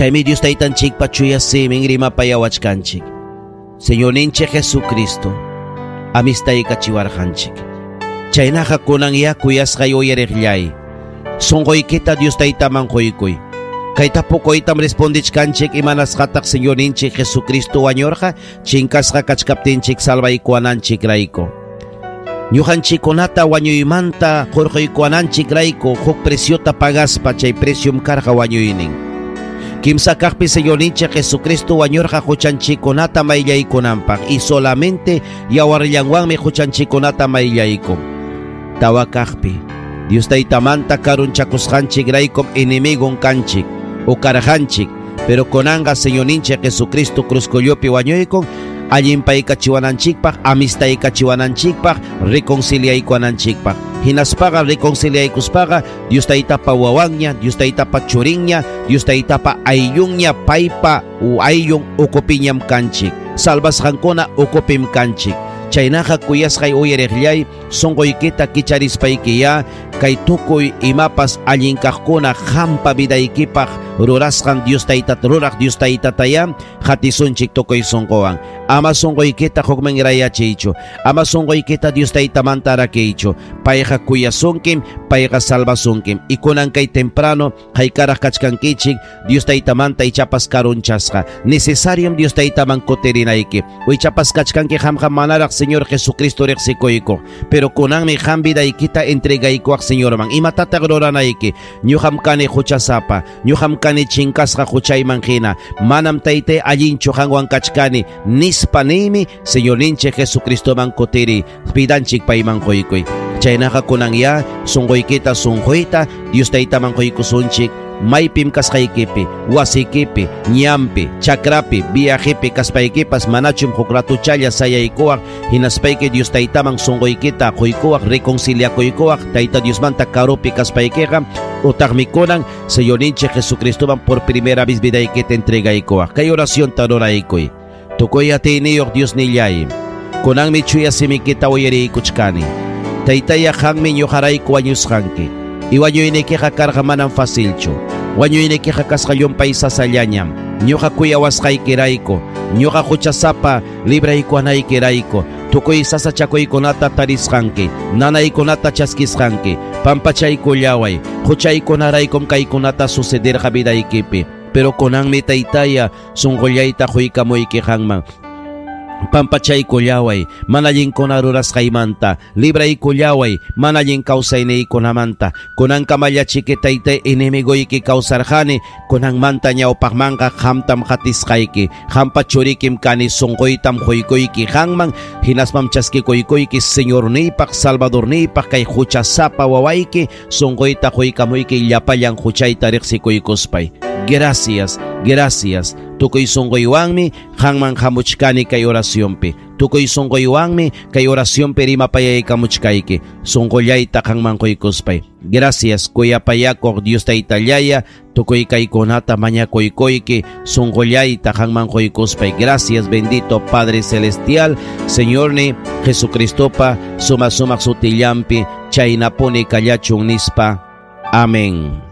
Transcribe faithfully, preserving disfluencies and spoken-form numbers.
Chaymi Dios taytanchikpa chuya simin rimapayawachkanchik. Señorninchik Jesucristo amistaykachiwarqanchik. Chaynaqa kunan ya kuyasqay uyariqllay. Sunquykita Dios taytaman quykuy. Kay tapukuytam respondichkanchik imanasqataq Señorninchik Jesucristo wañurqa chinkasqa kachkaptinchik salvaykuwananchikrayku. Ñuqanchikkunata wañuymanta hurquykuwananchikrayku huk preciota pagaspa chay preciom karqa wañuynin. Kimsa kaqpi Señorninchik Jesucristo wañurqa huchanchikkunata mayllaykunanpaq y solamente yawarllanwanmi huchanchikkunata mayllaykun. Tawa kaqpi Dios taytamanta karunchakusqanchikraykum enemigon kanchik o karqanchik, pero kunanqa Señorninchik Jesucristo cruzkullupi wañuykun allinpaykachiwananchikpaq, amistaykachiwananchikpaq, reconciliaykuwananchikpaq. Hinaspaqa reconciliaykuspaqa Dios taytapa wawanña, Dios taytapa churinña, Dios taytapa ayllunña, paypa u ayllun ukupiñam kanchik. Salvasqankuna ukupim kanchik. Chaynaqa kuyasqay uyariqllay, sunquykita kicharispaykiyá kay tukuy imapas allin kaqkuna qampa vidaykipaq rurasqan Dios taytata ruraq Dios taytataya hatisunchik tukuy sunquwan. Ama sunquykita hukman rayachiychu, ama sunquykita Dios taytamanta rakiychu. Payqa kuyasunkim, payqa salvasunkim. Y kunan kay temprano haykaraq kachkankichik Dios taytamanta ichapas karunchasqa. Necesariom Dios taytaman kutirinayki. Ichapas kachkanki qamqa manaraq Señor Jesucristo riqsikuyku. Pero kunanmi qam vidaykita entregaykuaq Señorman. Imatataq ruranayki? Ñuqam kani huchasapa, ñuqam kani chinkasqa huchayman hina. Manam taytay allinchu qanwan kachkani nispa niymi Señorninchik Jesucristoman kutiri vidanchik payman quykuy. Chaynaqa kunan ya sunquykita sunquyta Dios taytaman quykusunchik. Maypim kasqaykipi, wasikipi, ñampi, chakrapi, viajepi kaspaykipas manachum huk ratuchalla sayaykuwaq hinaspayki Dios taytaman sunquykita quykuwaq, reconciliakuykuwaq Tayta Diosmanta karupi kaspaykiqa utaqmi kunan Señorninchik Jesucristoman por primera vez vidaykita entregaykuwaq. Kay oracionta ruraykuy. Tukuy atiyniyuq Diosnillay, kunanmi chuya simikita uyariykuchkani. Taytaya qanmi ñuqarayku wañusqanki. Y wañuynikiqa karqa manam facilchu. Wañuynikiqa kasqa llumpay sasallañam. Ñuqa kuyawasqaykirayku, ñuqa huchasapa libraykuwanaykirayku, tukuy sasachakuykunata tarisqanki, nanaykunata chaskisqanki, pampachaykullaway, huchaykunaraykum kaykunata sucederqa vidaykipi. Pero kunanmi taytaya sunqullayta quykamuyki qanman. Pampachaykullaway, mana allinkuna rurasqaymanta, libraykullaway, mana allin kawsayniykunamanta. Kunankamallachiki taytay enemigoyki kawsarqani, kunanmanta ñawpaqmanqa qamtam qatisqayki, qampa churikim kani sunquytam quykuyki qanman, hinaspam chaskikuykuyki Señorniypaq, Salvadorniypaq kay huchasapa wawayki, sunquyta quykamuyki llapallan huchayta riqsikuykuspay. Gracias, gracias. Tukuy sunquywanmi qanman hamuchkani kay oracionpi. Tukuy sunquywanmi kay oracionpi rimapayaykamuchkayki. Sunqullayta qanman quykuspay. Gracias, kuyapayakuq Dios taytallaya, tukuy kaykunata mañakuykuyki, sunqullayta qanman quykuspay. Gracias, bendito Padre Celestial, Señorni Jesucristopa, suma sumaq sutillampi, chaynapuni kallachun nispa. Amén.